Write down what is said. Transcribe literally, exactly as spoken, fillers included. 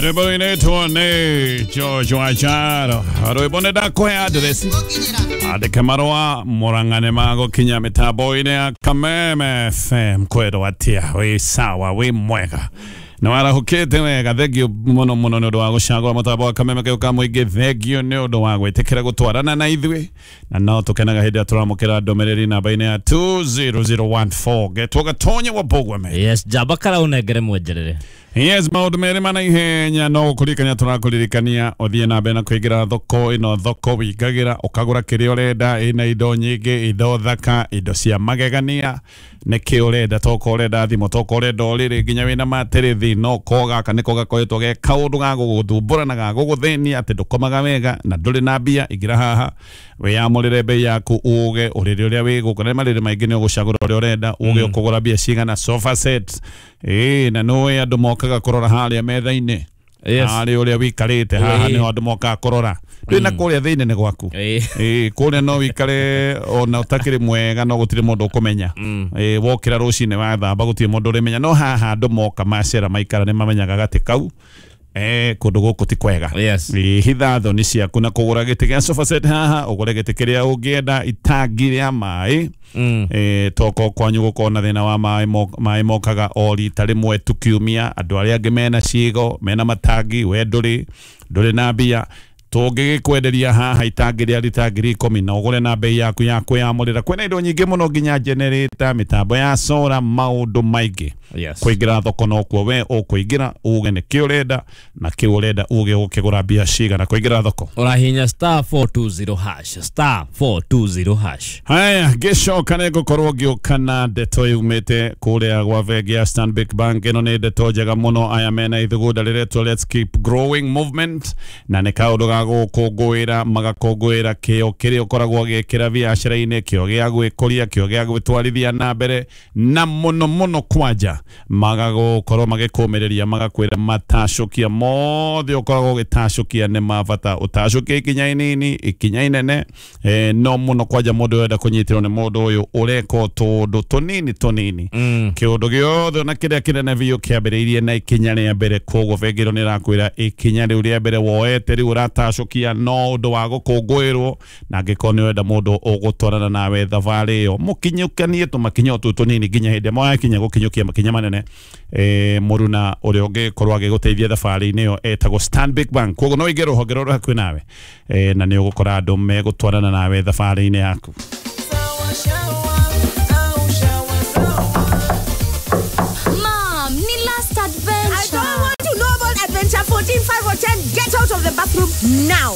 Rwĩmbo rũinĩtwo nĩ George Wanjaro. Rwĩmbo nĩ ndakũhe address. Andĩke marũa mũrang'ane magũkinya mĩtambo-inĩ ya Kameme F M. Kwĩrwo atĩa, wĩ sawa, wĩ mwega, nĩ warahũkĩte wega. Thengio mũno mũno nĩ ũndũ wa gũcagũra mũtambo wa Kameme kĩu ka mũingĩ. Thengio nĩ ũndũ wa gwĩtĩkĩra gũtwarana na ithuĩ, na no tũkenaga hĩndĩ ĩrĩa tũramũkĩra ndũmĩrĩri namba-inĩ ya two zero zero one four. Getwo Gatonye wa Bogweme. Yes, njamba kara ũnengere mwenjerere. Yes, maũndũ merĩ mana ihenya no gũkũririkania tũrakũririkania ũthiĩ na mbere na kũingĩra thoko ĩno. Thoko wĩingagĩra ũkagũra kĩrĩa ũrenda, ĩna indo nyingĩ, indo thaka, indo cia magegania. Nĩkĩ ũrenda? Toka ũrenda thimũ, toka ũrenda ũrĩrĩ, nginya wĩna matĩrĩthi. No ko gaka nĩko gakoretwo ge kaũndũ ga gũgũthumbũra na ga gũgũthĩnia atĩ ndũkomaga wega na ndũrĩ na mbia. Ingĩra haha wĩyamũrĩre bei yaku, uge ũrĩrĩ ũrĩa wĩ gũkũ. Na marĩrĩ maingĩ nĩ ũgũcagũra ũrĩa ũrenda, uge ũkũgũra mbia cigana. Sofa set ĩĩ, na nĩũĩ andũ mokaga kũrora harĩa metha-inĩ. Yes. Harĩa ũrĩa wĩikarĩte haha nĩho andũ mokaga kũrora. Ndũĩ na kũrĩa thĩinĩ nĩ gwaku. Ĩĩ, kũrĩa no wĩikare ona ũtakĩrĩ mwega, no gũtirĩ mũndũ ũkũmenya. Ĩĩ, wokĩra rũcinĩ wathamba gũtirĩ mũndũ ũrĩmenya. No haha andũ moka macera maikara nĩ mamenyaga gatĩ kau eh kũndũ gũkũ ti kwega. Yes. Ĩĩ, hitha thoni ciaku na kũgũra gĩtĩ gĩa sofa set haha, ũgũre gĩtĩ kĩrĩa ũngĩenda, itangi rĩa maĩ. Mm. Eh, toko kwanyu gũkorwo na thĩna wa maĩ, maĩ mokaga o rita rĩmwe tu kiumia. Andũ arĩa angĩ mena ciĩgo, mena matangi, we ndũrĩ ndũrĩ na mbia. Tũngĩgĩkwenderia haha itangi rĩa rita ngiri ikũmi na ũgũre na bei yaku ya kwĩyamũrĩra. Kwĩna indo nyingĩ mũno, nginya generator, mĩtambo ya solar, maũndũ maingĩ. Yes. Kũingĩra thoko nokuo we ũkũingĩra, uge nĩkĩ ũrenda na kĩ ũrenda, uge ũkĩgũra mbia cigana. Kũingĩra thoko ũrahihinya star four two zero hash, star four two zero hash. Haya, ngĩcoka nĩ ngũkorwo ngĩũka na ndeto yumĩte kũrĩa gwa bengi ya Stanbic Bank. Ĩno nĩ ndeto njega mũno. Aya mena ithugunda rĩretwo Let's Keep Growing Movement, na nĩ kaũndũ ga gũkũngũĩra, magakũngũĩra kĩo kĩrĩa ũkoragwo ũgĩkĩra biacara-inĩ, kĩo gĩa gwĩkũria, kĩo gĩa gwĩtwarithia na mbere, na mũno mũno kwanja magagũkorwo magĩkũmĩrĩria, magakwĩra matacũkia mothe ũkoragwo ũgĩtacũkia nĩ ma bata. Ũtacũkia ikinya inini, ikinya inene, eh, no mũno kwanja mũndũ ũrenda kũnyitĩrwo nĩ mũndũ ũyũ ũreka tũũndũ tũnini tũnini. Mm. Kĩũndũ gĩothe ona kĩrĩa kĩnene biũ kĩambĩrĩirie na ikinya rĩa mbere. Koguo bengi ĩno nĩ ĩrakwĩra ikinya rĩu rĩa mbere woete rĩu ũratacũkia no ũndũ wa gũkũngũĩrwo, na angĩkorwo nĩ ũrenda mũndũ ũgũtwarana nawe thabarĩ ĩyo, mũkinyũkanie tũmakinya o tũu tũnini nginya hĩndĩ ĩrĩa mwakinya gũkinyũkia makinya manene. Eh, mũruna ũrĩa ũngĩkorwo agĩgũteithia thabarĩ-inĩ ĩyo etagwo Stanbic Bank. Koguo no ũingĩre rũhonge rũrĩa hakuhĩ nawe, eh, na nĩ ũgũkora andũ megũtwarana nawe thabarĩ-inĩ yaku. Mom, ni last adventure. I don't want to know about adventure fourteen, five or ten. Get out of the bathroom now.